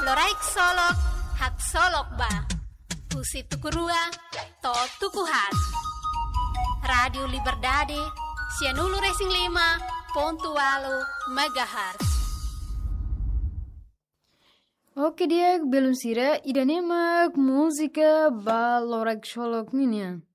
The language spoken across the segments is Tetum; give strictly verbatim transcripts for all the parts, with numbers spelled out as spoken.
Loraik Solok, haksolok ba. Husi tuku rua to'o tuku haat. Rádiu Liberdade, sianulu-resin-lima pontu ualu megahertz. Oke, di'ak, belun sira, ida-ne'e mak múzika ba Loraik Solok ninian.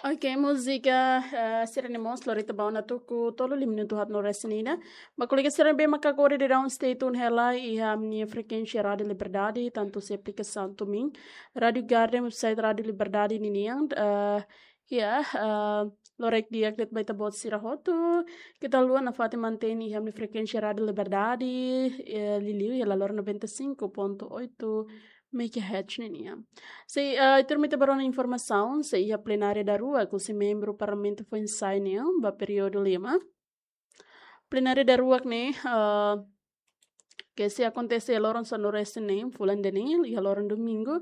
Oke, múzika, eh, sira-ne'e mós lori ita ba ona tuku tolu, lima minutu haat no resin ida. Ba kolega sira ne'ebé maka agora daudaun stay tune hela iha ami-nia frekuénsia Rádiu Liberdade, tantu husi aplikasaun TuneIn, Rádiu Garden, website Rádiu Liberdade ninian, eh, ya, eh, loraik di'ak de'it ba ita-boot sira hotu. Keta haluha nafatin mantein iha ami-nia frekuénsia Rádiu Liberdade, eh, liuliu iha laloran noventa e cinco ponto oito megahertz ninian. Sei, eh, ita ruma ita ba rona informasaun, sei iha plenária daruak husi membru Parlamentu foin-sa'e nian, ba períodu lima. Plenária daruak ne'e, eh, ke sei akontese loron sanulu-resin-neen, fulan ida-ne'e, iha loron domingu.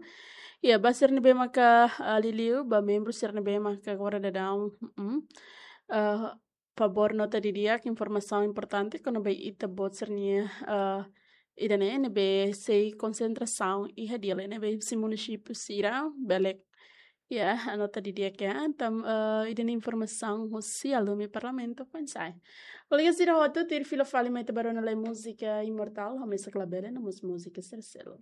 Ya, ba sira ne'ebé maka, eh, liuliu, ba membru sira ne'ebé maka agora daudaun, mm, eh, favór nota didi'ak, informasaun importante kona-ba ita-boot sira-nia, eh, ida-ne'e ne'ebé sei konsentrasaun iha Dili ne'ebé husi munisípiu sira, bele, ya, anota didi'ak ya. Entaun, eh, ida-ne'e informasaun husi Alume Parlamentu foin-sa'e. Kolega sira hotu, tuir fila fali mai ita ba rona lai múzika Imortál, Hamesak Labele, no mós múzika sira seluk.